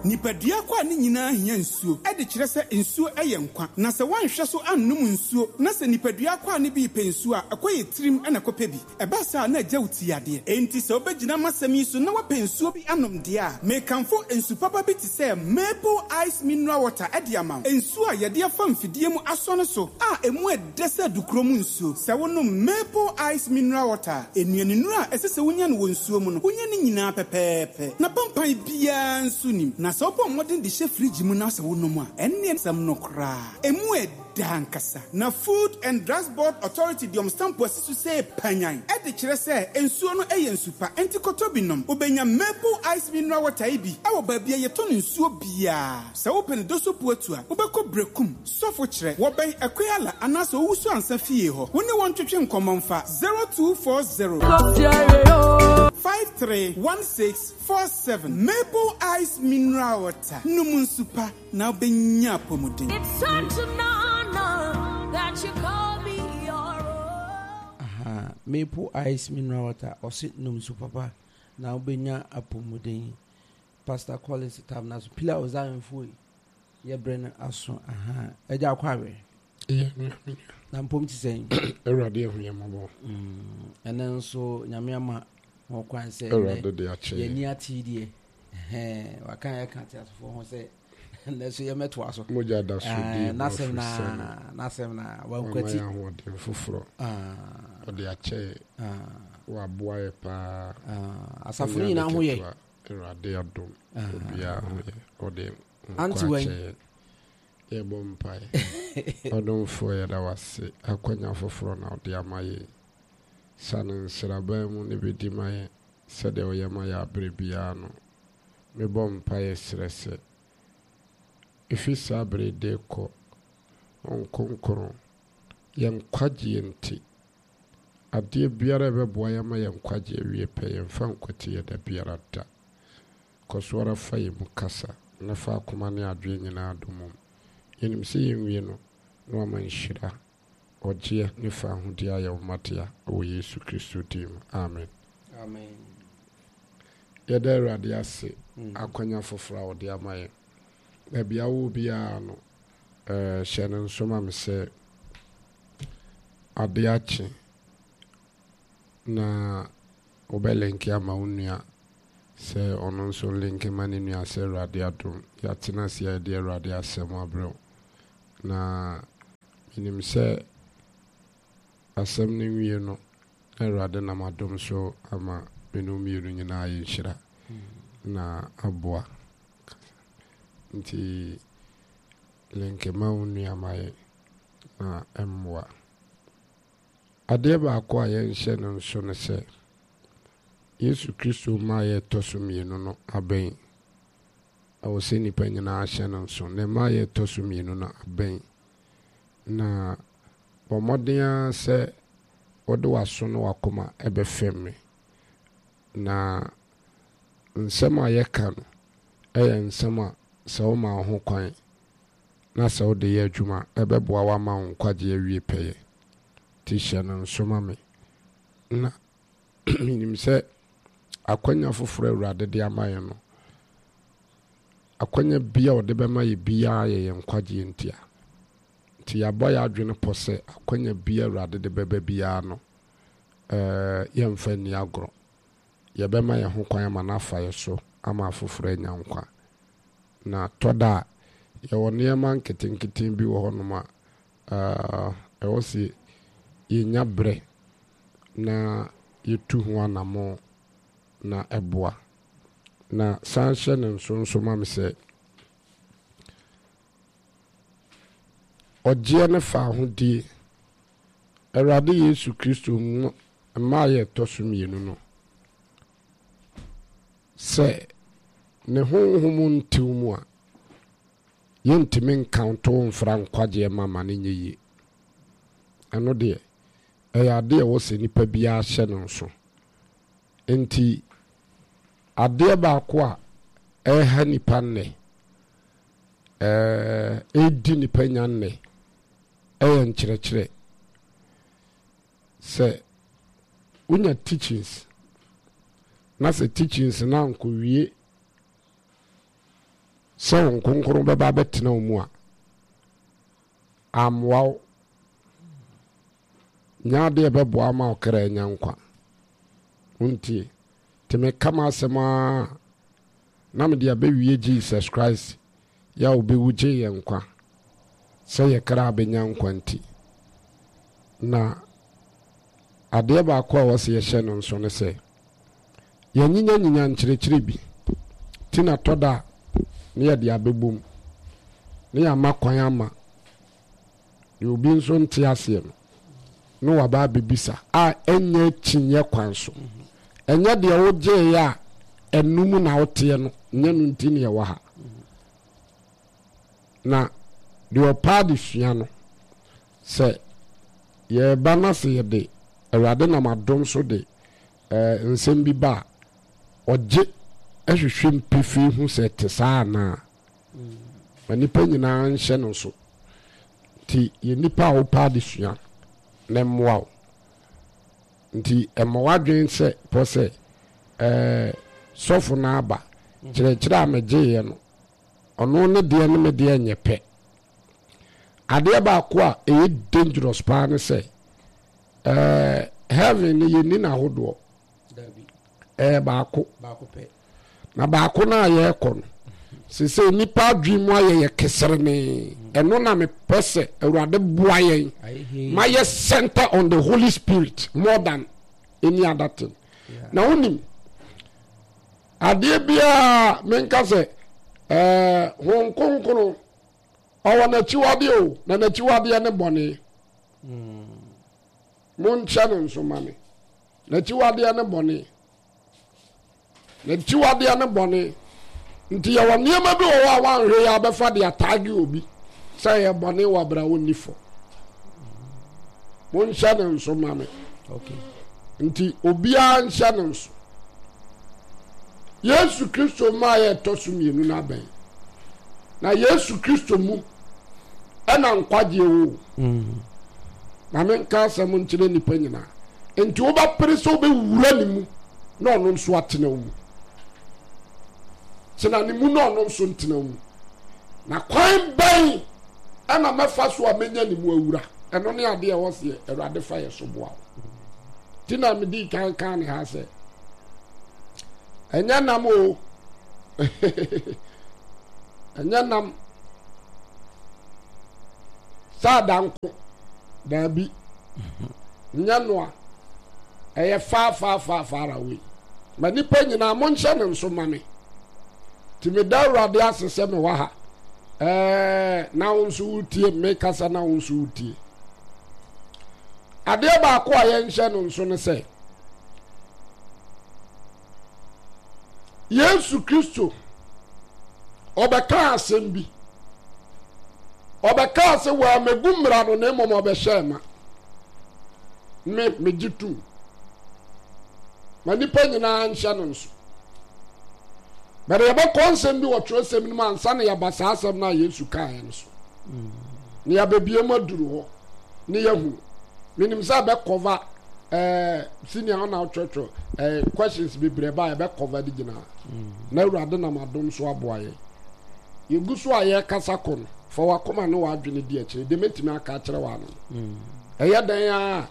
Nipadua akwaa no nyinaa hia nsuo de kyerɛ sɛ nsuo yɛ nkwa. Na sɛ woanhwɛ so annom nsuo na sɛ nipadua akwaa no bi repɛ nsuo a, ɛkɔ yɛ tirim na ɛkɔpɛ bi. Ɛba saa a, na agya wo ti yadeɛ. Enti sɛ wobɛgyina m'asɛm yi so na woapɛ nsuo bi anom deɛ a, mekamfo nsu papa bi te sɛ Maple Ice Mineral Water de ama wo. Nsuo a yɛde afa mfidie mu asɔ no so a ɛmu ɛdɛ sɛ adukuro mu nsuo. Sɛ wonom Maple Ice Mineral Water a, nnuanennuro a ɛsɛ sɛ wonya no wɔ nsuo mu no, wonya ne nyinaa pɛpɛɛpɛ. Na pampan biara nso nnim. Na sɛ wobɔ mmɔden de hyɛ fridge mu na sɛ wonom a, ɛnneɛ asɛm no koraa, ɛmu ɛdɛ ankasa. Na Food and Drugs Board Authority de wɔn stampo asi so sɛ panyan de kyerɛ sɛ nsuo no yɛ nsu pa, enti kɔtɔ bi nom. Wobɛnya Maple Ice Mineral Water yi bi wɔ baabi a yɛtɔn nsuo biara. Sɛ wopɛ no Dosopuatu a, wobɛkɔ Berekum, Sɔfo kyerɛ, wɔbɛn Akuala anaasɛ Owusu Ansa fie hɔ. Wo ne wɔn ntwetwe nkɔmmɔ mfa 0240 531647. Maple Ice Mineral Water, nom nsu pa na wobɛnya apɔmuden. It's such an honor that you call me your own. Aha, Maple Ice Mineral Water, ɔse nom nsu papa na wobɛnya apɔmuden. Pastor Collins tam na so pila ozanfoɔ yi. Yɛ berɛ no aso ahaa agya akɔ awe. Yɛ nua me nua. Na mpom te sɛn. Awurade ahu yɛ mmɔbɔ. Ɛnɛ nso nyame ama ho kwan sɛ Awurade de akyɛ yɛn ani ate deɛ waka yɛ ka te asefoɔ ho sɛ ɛnɛ so yɛmɛtoa so. Mogya da so di n'asɛm na n'asɛm na wankwati. Wama yɛ ahoɔden foforɔ. Ɔde akyɛ yɛ. Waboa yɛ paa. Asafo no nyinaa ho yɛ. Awurade adom obiara ho yɛ. Ɔde Auntie nkwa wɛn? akyɛ yɛn. Yɛbɔ mpae. Ɔdomfoɔ yɛda wo ase akwanya foforɔ na wode ama yɛn. Sane nsraban mu na bɛdi ma yɛn sɛdeɛ woyɛ ma yɛn aberɛ biara no. Mebɔ mpaeɛ srɛ sɛ ɛfiri saa berɛ yi de rekɔ, Honhom Kronkron, yɛn nkwagyeɛ nti, adeɛ biara a ɛbɛboa yɛn ama yɛn nkwagyeɛ awie pɛ, yɛmfa nkwati yɛ da biara da. Kɔ so ara fa yɛn mu kasa, na fa akoma ne adwene nyinaa dɔ mom. Yɛnim sɛ yɛnwie no, na wama nhyira, ɔgyeɛ, ne fawohodie ayɛ wo mma dea, wɔ Yesu Kristo din mu, amen. Amen. Yɛda Awurade ase akwanya foforɔ a ɔde ama yɛn. Baabi a wowɔ biara no, hyɛ no nso ma me sɛ adeɛ akye na wobɛlinke ama wo nua sɛ ɔno nso nlinke ma ne nua sɛ Awurade adom yɛatena ase a yɛde Awurade asɛm abrɛ wo. Na menim sɛ asɛm no nwie no na Awurade nam adom so ama me ne wo mmienu nyinaa ayɛ nhyira na aboa. Nti linke ma wo nua ma yɛn na ɛmmoa. Adeɛ baako a yɛnhyɛ no nso ne sɛ, Yesu Kristo mmaeɛ a ɛtɔ so mmienu no abɛn. Ɛwɔ sɛ nnipa nyinaa hyɛ no nso. Ne mmaeɛ a ɛtɔ so mmienu no abɛn. Na bɔ mmɔden ara sɛ wode w'aso ne w'akoma bɛfɛm me. Na nsɛm a yɛka no yɛ nsɛm a sɛ woma wo ho kwan na sɛ wode yɛ adwuma a, ɛbɛboa wo ama wo nkwagyeɛ awie pɛyɛ. Nti hyɛ no nso ma me. Na menim sɛ akwanya foforɔ a Awurade de ama yɛn no, akwanya bi a ɔde bɛma yɛ biara yɛ yɛn nkwagyeɛ ntia. Nti yɛabɔ yɛn adwene pɔ sɛ akwanya bi a Awurade de bɛba biara no, eh, yɛmfa nni agorɔ. Yɛbɛma yɛn ho kwan ama no afa yɛ so ama afoforɔ anya nkwa. Na tɔ da a, yɛwɔ nneɛma nketenkete bi wɔ hɔnom a, eh, ɛwɔ sɛ yɛnya berɛ na yɛtu ho anammɔn na ɛboa. Na san hyɛ no nso nso ma me sɛ, ɔgyeɛ ne fawohodie, Awurade Yesu Kristo mu mmaeɛ a ɛtɔ so mmienu no, sɛ ne honhom ntew mu a, yɛntumi nkanto mfra nkwagyeɛ ma ma no nyɛ yie. Ɛno deɛ, ɛyɛ adeɛ a ɛwɔ sɛ nipa biara hyɛ no nso. Enti, adeɛ baako a ɛreha nipa nnɛ, ɛredi nipa nya nnɛ, ɛyɛ nkyerɛkyerɛ. Sɛ wonya teachings, na sɛ teachings no ankɔwie. sɛ Honhom Kronkron bɛba abɛtena wo mu a, ammoa wo. Nyɛ adeɛ a ɛbɛboa ama wo kra anya nkwa. Wontie? Nti meka m'asɛm ara na mede abɛwie Jesus Christ yɛ a ɔbɛwu gyee yɛn nkwa sɛ yɛ kra bɛnya nkwa nti. Na adeɛ baako a ɛwɔ sɛ yɛhyɛ no nso ne sɛ, yɛanyinyanyinya nkyerɛkyerɛ bi nti na tɔ da a na yɛde abɛbom na yɛama kwan ama deɛ obi nso nte aseɛ no na waba abɛbisa a ɛnyɛ akyinnyeɛ kwan so. Ɛnyɛ deɛ wogyeeɛ a ɛno mu na woteɛ no, nyɛ no nti na yɛwɔ ha. Na deɛ ɔpɛ adesua no, sɛ yɛreba na sɛ yɛde Awurade nam adom so de eh, nsɛm bi ba a, ɔgye hwehwɛ mu pefee hu sɛ ɛte saa anaa. Ma nnipa nyinaa nhyɛ no nso. Nti yɛ nnipa a wopɛ adesua na mmoa wo. Nti ɛmmɔ w'adwene sɛ pɔ sɛ ɛɛ sɔfo no aba kyerɛkyerɛ a megyeeɛ no ɔno ne deɛ ne me deɛ nyɛ pɛ. Adeɛ baako a ɛyɛ dangerous paa ne sɛ ɛɛ heaven no yɛnni n'ahodoɔ. Ɛyɛ baako. Na baako no a yɛrekɔ no, sese nnipa adwene mu ayɛ yɛ keserenee. Ɛno na mepɛ sɛ Awurade boa yɛn ma yɛ center on the Holy Spirit more than any other thing. Na wonim, adeɛ biara menka sɛ ɛɛ Honhom Kronkron ɔwɔ n'akyiwadeɛ o, na n'akyiwadeɛ ne bɔne. Monkyɛ no nso ma me. N'akyiwadeɛ ne bɔne. N'akyiwadeɛ ne bɔne. Nti yɛwɔ nneɛma bi wɔ hɔ a wanhwɛ yɛ abɛfa de ataage obi sɛ ɛyɛ bɔne wɔ abira ɔnni fɔ. Monhyɛ no nso ma me. Nti obiara nhyɛ no nso. Yesu Kristo maa yɛ ɛtɔ so mmienu no abɛn. Na Yesu Kristo mu ɛna nkwagyeɛ wɔ. Mm. Ma menka asɛm nkyerɛ nnipa nyinaa. Nti wobɛpere sɛ wobɛwura ne mu na ɔno nso atena wo mu. Tena ne mu na ɔno nso ntena wo mu. Na kwan bɛn ɛna mɛfa so a mɛnya ne mu awura? Ɛno ne adeɛ ɛwɔ seɛ Awurade fa yɛ so boa wo. Nti na medi kan kan ne ha sɛ ɛnyɛ nam o ɛnyɛ nam sɛ adanko daabi nyɛ noa ɛyɛ far far far far away ma nipa nyinaa monhyɛ no nso ma me nti meda awurade ase sɛ mewɔ ha ɛɛ na wo nso wotie mekasa na wo nso wotie adeɛ baako a yɛnhyɛ no nso ne sɛ Yesu Kristo, ɔbɛkaa asɛm bi. Ɔbɛkaa sɛ wɔamɛgu mmara no na mmom ɔbɛhyɛɛ ma. Me, megye tom. Ma nnipa nyinaa nhyɛ no nso. Bɛde yɛbɛkɔ nsɛm bi wɔ twerɛsɛm no mu ansa na yɛaba saa asɛm no a Yesu kaeɛ no so. Na yɛabɛbie mu aduru hɔ ne yɛahunu. Menim sɛ ɛbɛkɔva ɛɛ senior ɔna ɔtwerɛtwerɛ ɛɛ questions bebree ba a yɛbɛ cover de gyina mm. na awurade nam adom so aboa yɛn yɛgu so a yɛrekasa kɔ no fa wakoma ne w'adwene di akyire deɛ mɛtumi aka akyerɛ w'ano no mm. ɛyɛ dɛn a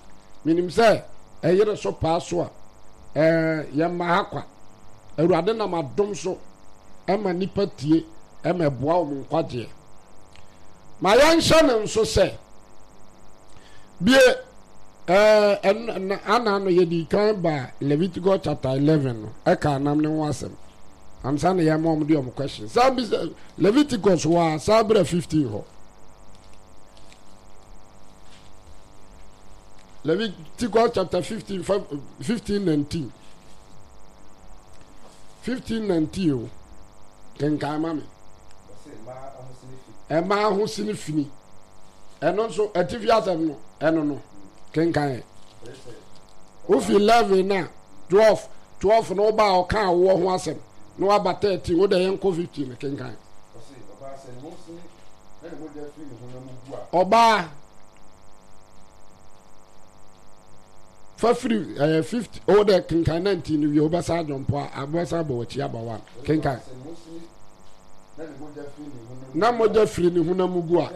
menim sɛ ɛyere so paa so a ɛɛ yɛmma ha kwa awurade nam adom so ɛma nipa tie ɛma ɛboa wɔn nkwagyeɛ ma yɛnhyɛ no nso sɛ bie Ɛɛ, ana no yɛdi kan ba Leviticus chapter 11 no, ɛka anam ne ho asɛm. Ansa na yɛma wɔn de wɔn question. Saa bi sɛ Leviticus wɔ a saa berɛ 15 hɔ. Leviticus chapter 15, 15 19. 15 19 o. Kenkan ma me. Ɛmaa ho sini fini. Ɛno nso atifi asɛm no ɛno no kenkan ɛ. Wofi 11 na 12 12 no woba a ɔka awoɔ ho asɛm na waba 13 wode yɛn kɔ 15 no kenkan. Ɔbaa fa firi ɛyɛ 50 o de kenkan 19 no wie wobɛsan adwɔmpo a wobɛsan abɔ w'akyi aba 1 kenkan. Na mogya firi ne honam mu gu a,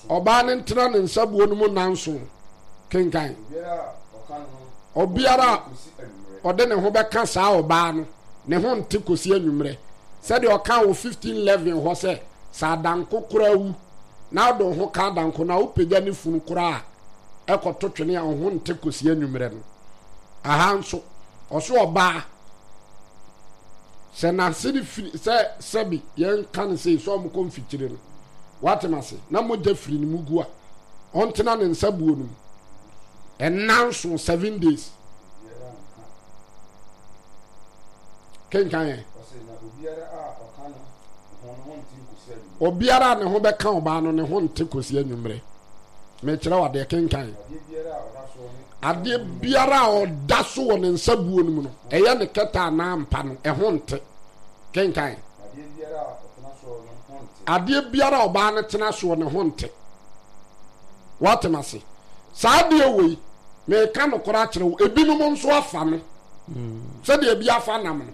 ɔbaa no ntena ne nsabuo no mu nnanson. Kenkan. Obiara a ɔde ne ho bɛka saa ɔbaa no, ne ho nte kɔsi anwummerɛ. Sɛdeɛ ɔka wɔ 1511 hɔ sɛ, sɛ adanko koraa wu na wode wo ho ka adanko no a, wopagya ne funu koraa a, ɛkɔto twene a, wo ho nte kɔsi anwummerɛ no. Aha nso, ɔso ɔbaa sɛ n'ase no firi sɛ sɛbi yɛnka no sei sɛ ɔmokɔ mfikyire no watem ase na mogya firi ne mu gu a ɔntena ne nsa buo no mu ɛnna nso 7 days. Kenkan yɛ. Obiara a ne ho bɛka ɔbaa no ne ho nte kɔsi anwummerɛ. Mekyerɛ wo adeɛ, kenkan. Adeɛ biara a ɔda so wɔ ne nsa buo no mu no, ɛyɛ ne kɛtɛ anaa mpa no, ɛho nte. Kenkan. Adeɛ biara a ɔbaa no tena soɔ ne ho nte. Woatem ase? Saa adeɛ wei, meka nokorɛ akyerɛ wo, ebinom nso afa no sɛdeɛ ebi afa nam no.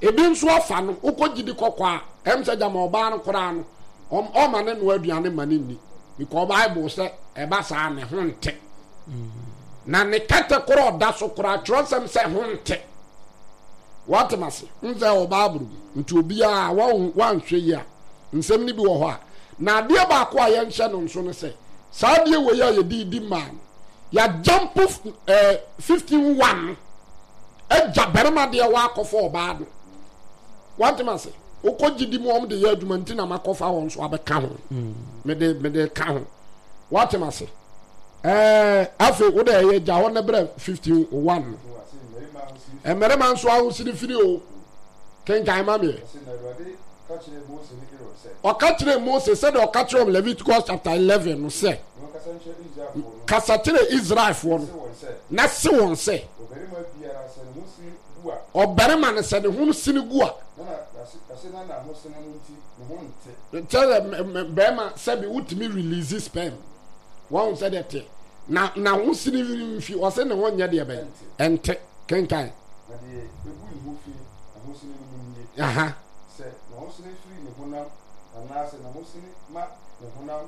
Ebi nso afa no, wokɔ gyidi kɔkɔ a, ɛm sɛ gyama ɔbaa no koraa no, ɔma ne noa aduane ma ne nni. Because Bible sɛ ɛba saa ne ho nte. Na ne kɛtɛ korɔ ɔda so koraa, twerɛsɛm sɛ ho nte. Woatem ase? N sɛ wɔ Bible mu. Nti obiara wanhwɛ yi a, nsɛm no bi wɔ hɔ a. Na adeɛ baako a yɛnhyɛ no nso no sɛ, saa adeɛ wei a yɛde di mmaa no, yɛagyampo eh, 15 1 no, agya barima deɛ wakɔfa ɔbaa no. Woatem ase? Wokɔ gyidi mu wɔn de yɛ adwuma nti na makɔfa wɔn nso abɛka ho. Mede ka ho. Woatem ase? Ɛɛ afei wo dɛ ɛyɛ gya hɔ ne brɛ 15 1 no. Mmarima nso ahosiri firi o. Kenkan ma meɛ. Ɔka kyerɛɛ Mose sɛdeɛ ɔka kyerɛ wɔn Leviticus chapter 11 no sɛ, kasa kyerɛ Israelfoɔ no na se wɔn sɛ, ɔbarima no sɛ ne ho sini gu a, kyerɛ bɛrima sɛbi wotumi release sperm wɔn sɛ deɛ teɛ na na ho sini mfi ɔsɛ ne ho nyɛ deɛ bɛn ɛnte. Kenkan. Na deɛ ɛgu ne ho fi ahosene no mu nie, sɛ n'ahosene firi ne honam anaasɛ n'ahosene ma ne honam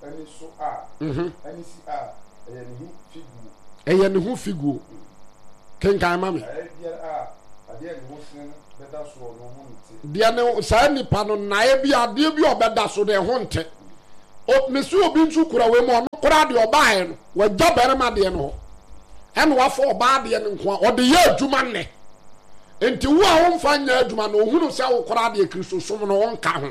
ani so a, ani si a, ɛyɛ ne ho figuo. Ɛyɛ ne ho figuo. Kenkan ma me. Naeɛ biara a adeɛ a ne ho sene no bɛda soɔ no ho nte. Deɛ ne saa nipa no naeɛ bi adeɛ bi a ɔbɛda so no ɛho nte. O mesi obi nso kura wei mu ɔno koraa deɛ ɔbaeɛ no wagya barima deɛ no hɔ ɛna wafa ɔbaa deɛ no nko a ɔde yɛ adwuma nnɛ. Nti wo a womfa nyɛ adwuma no ohunu sɛ wo koraa deɛ Kristosom no wonka ho.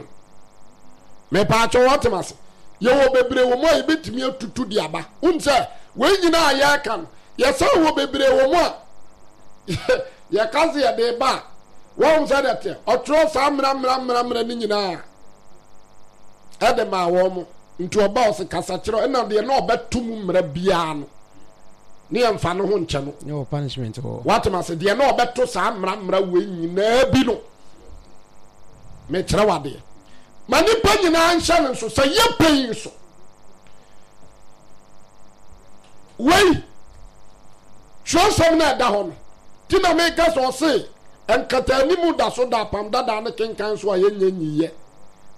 Mepaakyɛ wɔtem ase. Yɛwɔ bebree wɔ mu a yɛbɛtumi atutu de aba. Wonim sɛ wei nyinaa a yɛreka no yɛsan wɔ bebree wɔ mu a yɛka sɛ yɛde ba a wɔn sɛ deɛ teɛ ɔtwerɛ saa mmara mmara mmara mmara no nyinaa ɛde maa wɔn mo. Nti ɔba ɔse kasa kyerɛ ɛna deɛ na ɔbɛto mu mmara biara no ne yɛmfa no ho nkyɛ no. Ne wɔ punishment wɔ. Watem ase deɛ na ɔbɛto saa mmara mmara wei nyinaa bi no mekyerɛ wadeɛ ma nipa nyinaa nhyɛ no nso sɛ yɛ pɛyi nso wei twerɛsɛm no ɛda hɔ no ti na meka sɛ ɔse nkataanim da so da apam dadaa ne kenkan so a yɛnyɛ nyiyɛ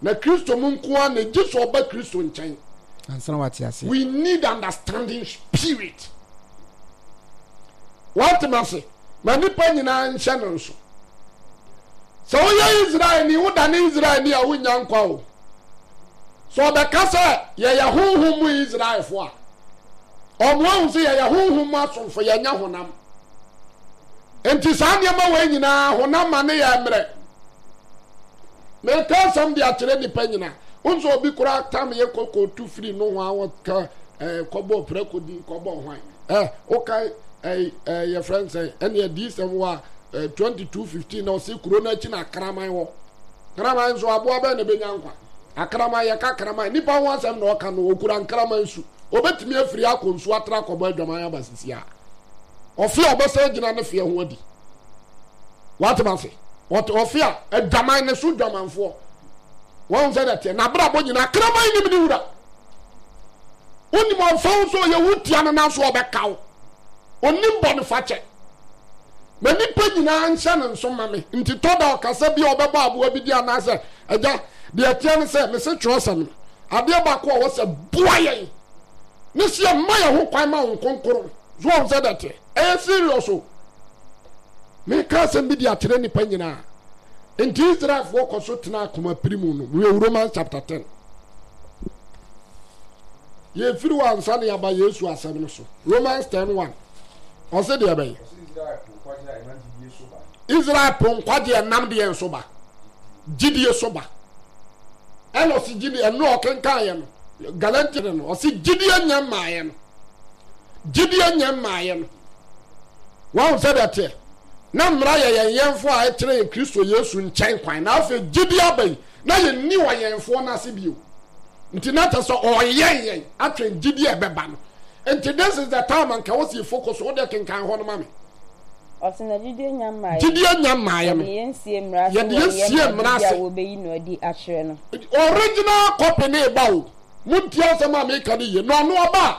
na Kristo mu nko ara na gye sɛ ɔba Kristo nkyɛn. Ansa na wate aseɛ. We need understanding spirit. Wate ma se ma nipa nyinaa nhyɛ no nso. Sɛ woyɛ Israelni, wodane Israelni a wonnya nkwa o. Sɛ ɔbɛka sɛ yɛyɛ honhom mu Israelfo a, ɔmo ahu sɛ yɛyɛ honhom mu asomfo, yɛnyɛ honam. Nti saa nneɛma wei nyinaa honam ma ne yɛ mmerɛ. Meka asɛm de akyerɛ nnipa nyinaa. Wohu sɛ obi koraa tam yɛ kɔkɔtu firi nohoa wɔka eh, kɔbɔ prɛko din kɔbɔ hwan eh, woka eh, eh, yɛfrɛ no sɛ ɛne adiyisɛm wɔ a eh, 22:15 na ɔse kuro no akyi na akraman wɔ. Kraman nso aboa bɛn na ɛbɛnya nkwa? Akraman yɛka kraman nipa ho asɛm na ɔka no ɔkura nkraman su. Ɔbɛtumi afiri akɔ nsuo atra akɔbɔ adwaman aba sisi a. Ɔfe a ɔbɛsan agyina ne feɛ ho adi. Wate ase? Ɔte ɔfe a adwaman ne so dwamanfoɔ. Wɔn sɛ dɛteɛ n'abrabɔ nyinaa kraman nim ne wura. Wonim ɔmfa wo sɛ ɔyɛ wo tia no nanso ɔbɛka wo. Onim bɔne fakyɛ. Ma nipa nyinaa nhyɛ ne nso ma me. Nti tɔ da ɔkasa bi a ɔbɛbɔ aboa bi di anaasɛ Agya, deɛ ɛteɛ ne sɛ, mese twerɛsɛm no, adeɛ baako a ɛwɔ sɛ boa yɛn ne sɛ yɛmma yɛn ho kwan ma Honhom Kronkron. So wɔn sɛ dɛteɛ? Ɛyɛ serious o. Meka asɛm bi de akyerɛ nnipa nyinaa. Nti Israelfoɔ kɔ so tena akoma piri mu no. Wei Romans chapter 10. Yɛfiri hɔ ansa na yɛaba Yesu asɛm no so. Romans 10 1. Ɔse deɛ bɛyɛ. Israel po nkwagye ɛnam deɛ nso ba. Gyidie so ba. Ɛna ɔse gyidie ɛno a ɔkenkan yɛ no Galatians no ɔse gyidie nyɛ mmaeɛ no. Gyidie nyɛ mmaeɛ no. Wɔn sɛ deɛ teɛ. Na mmara yɛ yɛn yɛnfo a ɛkyerɛ yɛn Kristo Yesu nkyɛn kwan. Na afei gyidie aba yi na yɛnni ɔyɛnfoɔ no ase bio. Nti na kyerɛ sɛ ɔyɛn yɛn atwɛn gyidie a ɛbɛba no. Nti this is the time anka wɔsi focus wo deɛ kenkan hɔ no ma me. Ɔse na gyidie nya mmaeɛ. Gyidie nya mmaeɛ no. Yɛde yɛn sie mmara ase Yɛde yɛn sie mmara ase. A wɔbɛyi no adi akyerɛ no. Original copy ne ba o. Montie asɛm a meka no yie. Na ɔno ɔba a,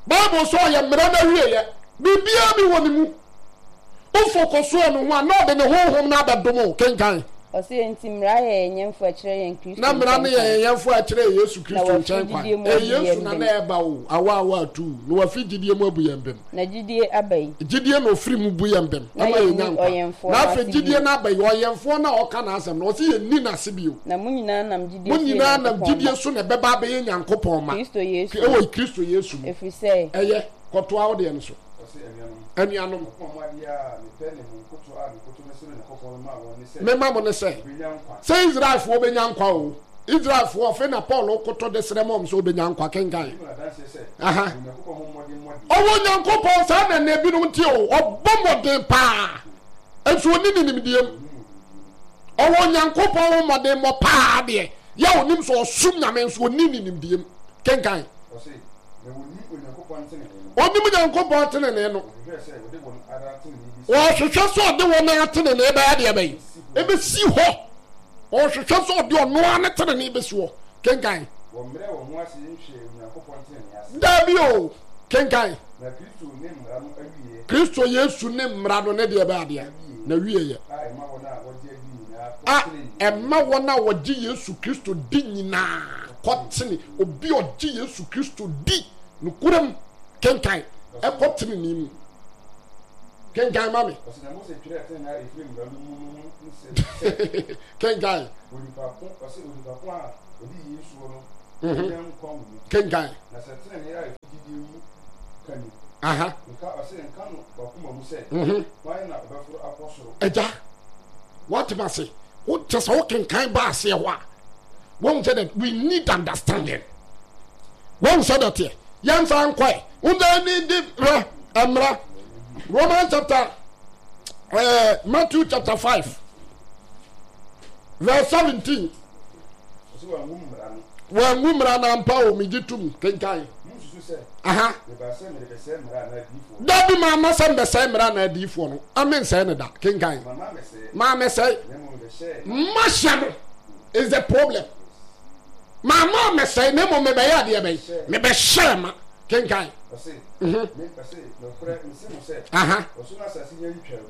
Bible sɛ ɔyɛ mmara no awieɛ. Biribiara bi wɔ ne mu. Wo focus wɔ ne ho a, na ɔde ne honhom no abɛdom wo. Kenkan. Ɔse enti mmara yɛ yɛn yɛnfo a ɛkyerɛ yɛn Kristo Na mmara no nkyɛn yɛ kwan. yɛn yɛnfo a ɛkyerɛ yɛn Yesu Na Kristo wafiri nkyɛn kwan. gyidie mu Ɛyɛ abu Yesu yɛn na bem. na ɛreba o, awa awa atuu, na wafi gyidie mu abu yɛn bem. Na gyidie aba yi. Gyidie na ɔfiri mu bu yɛn bem Na ma yɛnya yɛnni nkwa. ɔyɛnfoɔ Na no afei ase gyidie bio. no aba yi, ɔyɛnfoɔ no a ɔka n'asɛm no, ɔse yɛnni n'ase bio. Na mo nyinaa nam gyidie Mo so yɛ nyinaa nam Nyankopɔn gyidie mma. so na ɛbɛba abɛyɛ Nyankopɔn mma. Kristo Yesu mu. Ɛwɔ Kristo Yesu mu. Ɛfiri sɛ. Ɛyɛ, kɔtoa wo deɛ no so. Anuanom, mema mo ne sɛ, sɛ Israelfoɔ bɛnya nkwa o, Israelfoɔ, afei na Paul koto de srɛ ma wɔn sɛ wɔbɛnya nkwa, kenkan. Aha. Ɔwɔ Nyankopɔn saa na nna ebinom te o, ɔbɔ mmɔden paa, nso ɔni ne nimdeɛ mu. Ɔwɔ Nyankopɔn ho mmɔdenmmɔ paa deɛ, yɛ onim sɛ ɔsom Nyame nso ɔni ne nimdeɛ mu. Kenkan. Ɔnim Nyankopɔn tenenee no. Ɔhwehwɛ sɛ ɔde wɔn ara tenenee bɛyɛ deɛ bɛyi. Ɛbɛsi hɔ. Ɔhwehwɛ sɛ ɔde ɔno ara ne tenenee bɛsi hɔ. Kenkan. Daabi o. Kenkan. Kristo Yesu ne mmara no ne deɛ bɛyɛ adeɛ na wie yɛ. A ɛma wɔn a wɔgye Yesu Kristo di nyinaa kɔtene obi a ɔgye Yesu Kristo di nokorɛm kenkan ɛkɔ tenenee mu. Kenkan ma me. Kenkan. Kenkan. Aha. Agya, woate ma se, wokyɛ sɛ wokenkan ba aseɛ hɔ a, wɔn sɛ that we need understanding wɔn sɛ that yɛ yɛn nsa nkɔɛ wɔn sɛ ne de rɛ ɛmra Romans chapter ɛɛ eh, Matthew chapter 5 verse 17 wɔn ngu mmara na mpa o megye tum kenkan aha dabi maa ma sɛ mbɛsɛe mmara na adiifoɔ no ame nsɛe ne da kenkan maa mɛsɛe mahyɛ no is the problem maa maa mɛsɛe na mmom mebɛyɛ adeɛ bɛyi mebɛhyɛ ma kenkan mhm. aha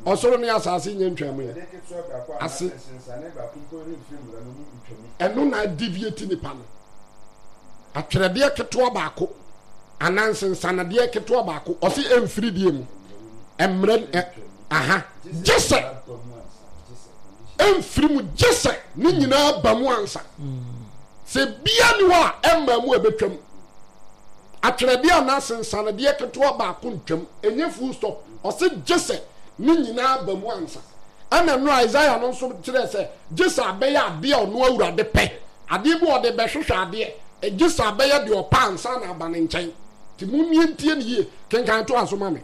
ɔsoro ne asase nyɛ ntwa mu yɛ ase ɛno na deviate nipa no atwerɛdeɛ ketewa baako anaa nsensanedeɛ ketewa baako ɔse ɛmfiri deɛ mu mmerɛ aha gye sɛ ɛmfiri mu gye sɛ ne nyinaa ba mu ansa sɛ bia ni hɔ a ɛmma mu ɛbɛtwam atwerɛdeɛ anaa sensanedeɛ ketewa baako ntwam ɛnyɛ full stop ɔse gye sɛ ne nyinaa ba mu ansa ɛna no Isaiah no nso kyerɛ sɛ gye sɛ abɛyɛ adeɛ a ɔno awurade pɛ adeɛ bi ɔde bɛhwehwɛ adeɛ gye sɛ abɛyɛ deɛ ɔpɛ ansa na aba ne nkyɛn nti mommie ntie ne yie kenkan to aso ma me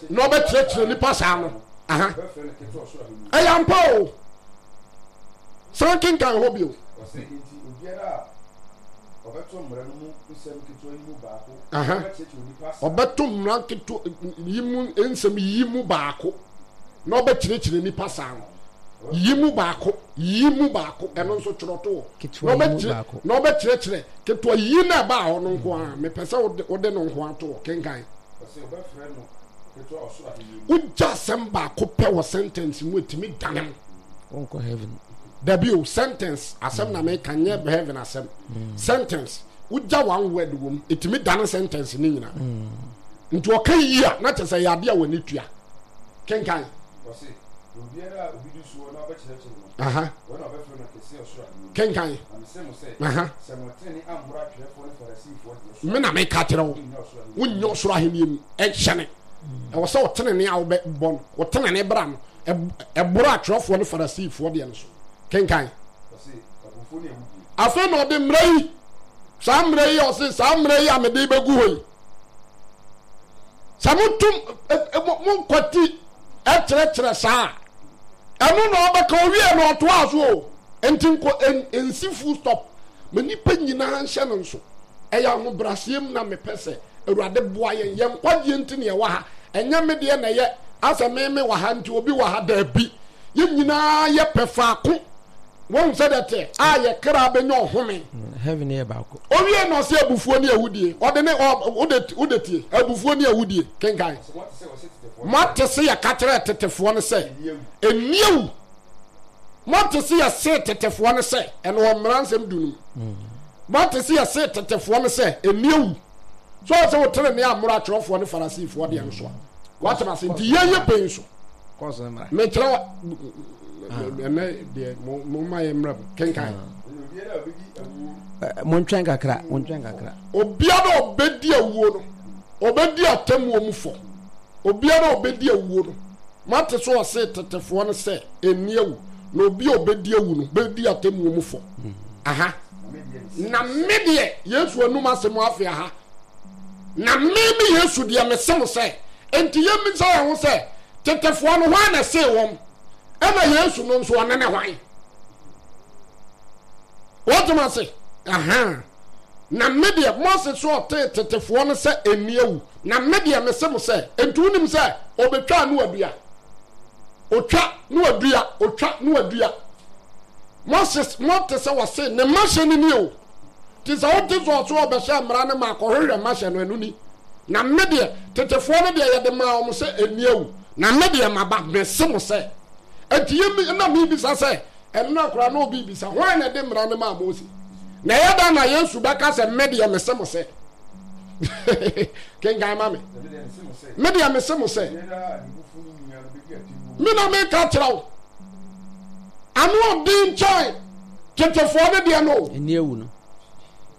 na ɔbɛkyerɛkyerɛ nipa saa no aha ɛyɛ ampa o san kenkan hɔ bio ɔbɛto mmara nketewa yi mu nsɛm yi mu baako na ɔbɛkyerɛkyerɛ nipa saa no yi mu baako yi mu baako ɛno nso twerɛ to hɔ na ɔbɛkyerɛkyerɛ ketewa yi na ɛbaa hɔ no nko ara mepɛ sɛ wode no nko ato hɔ kenkan wogya asɛm baako pɛ wɔ sentence mu ɛtumi dane mu. Wonkɔ heaven. Dabi o, sentence asɛm na meka nyɛ heaven asɛm. Sentence, wogya one word wɔ mu, ɛtumi dane sentence ne nyinaa. Nti ɔka yi a, na kyerɛ sɛ ɛyɛ adeɛ a w'ani tua. Kenkan. Ɔse, na obiara a obi di soɔ na ɔbɛkyerɛkyerɛ no, Aha. wɔn na wɔbɛfrɛ no kɛseɛ ɔsoro ahennie mu. Kenkan. Na mese mo sɛ, Aha. sɛ mo tenenee ammoro atwerɛfoɔ ne Farisifoɔ deɛ so a, Me na meka kyerɛ wo, monnya ɔsoro ahennie mu. wonnya ɔsoro ahennie mu. Ɛnhyɛne. Ɛwɔ sɛ ɔtenenee a wobɛbɔ no, wo tenenee bra no, ɛboro atwerɛfoɔ ne Farisifoɔ deɛ no so. Kenkan. Ɔse, abufuo ne awudie. Afei na ɔde mmara yi, saa mmara yi a ɔse, saa mmara yi a mede bɛgu hɔ yi, sɛ motom monkwati kyerɛkyerɛ saa a, ɛno na ɔbɛka owie na ɔtoa so o. Nti nkɔ nsi full stop ma nipa nyinaa nhyɛ no nso. Ɛyɛ ahobrɛaseɛ mu na mepɛ sɛ Awurade boa yɛn. Yɛn nkwagyeɛ nti na yɛwɔ ha. Ɛnyɛ me deɛ na ɛyɛ asɛ me me wɔ ha nti obi wɔ ha daabi. Yɛn nyinaa yɛpɛ faako. Wɔn sɛ dɛ tɛ a yɛ kra bɛnya ɔhome. Heaven yɛ baako. Owie na ɔsɛ abufuo ne awudie. Ɔde ne ɔ wode wode tie abufuo ne awudie kenkan. Moate se yɛka kyerɛɛ tetefoɔ no sɛ ɛnni awu. Moate se yɛsee tetefoɔ no sɛ ɛno wɔ mmara nsɛm du no mu. Moate se yɛsee tetefoɔ no sɛ ɛnni awu. So ɔsɛ wo tenenee ammoro atwerɛfoɔ ne Farisifoɔ deɛ no so a. Woate ase nti yɛyɛ pɛn so. Mekyerɛ wa ɛnɛ deɛ mo ma yɛ mmerɛ mu kenkan. Montwɛn kakra, montwɛn kakra. Obiara a ɔbɛdi awuo no, ɔbɛdi atemmuo mu fɔ. Obiara a ɔbɛdi awuo no, moate so ɔse tetefoɔ no sɛ ɛnni awu, na obi a ɔbɛdi awu no bɛdi atemmuo mu fɔ. Aha. Na me deɛ, Yesu anum asɛm afe aha. Na me me Yesu deɛ mese mo sɛ, enti yɛmmisa yɛn ho sɛ, tetefoɔ no hwan na ɛsee wɔn? Ɛna Yesu no nso ɔne ne hwan? Wɔtem ase? Aha. Na me deɛ, Mose so ɔtee tetefoɔ no sɛ ɛnni awu. Na me deɛ mese mo sɛ, enti wonim sɛ ɔbɛtwaa no adua? Otwa no adua, otwa no adua. Moses, mote sɛ wɔse ne mahyɛ no ni o. Nti sɛ wote sɛ ɔso ɔbɛhyɛ mmara no ma akɔhwehwɛ mahyɛ no, ɛno ni. Na me deɛ, tetefoɔ no deɛ yɛde maa wɔn sɛ ɛnni awu. Na me deɛ maba, mese mo sɛ. Enti yɛ na mebisa sɛ, ɛnora koraa na obi bisa, hwan na ɛde mmara no maa Mose? Na ɛyɛ dɛn na Yesu bɛka sɛ, me deɛ mese mo sɛ? Kenkan ma me. Me deɛ mese mo sɛ. Me na meka kyerɛ wo. Ano ɔden kyɛn tetefoɔ no deɛ no. Ɛni awu no.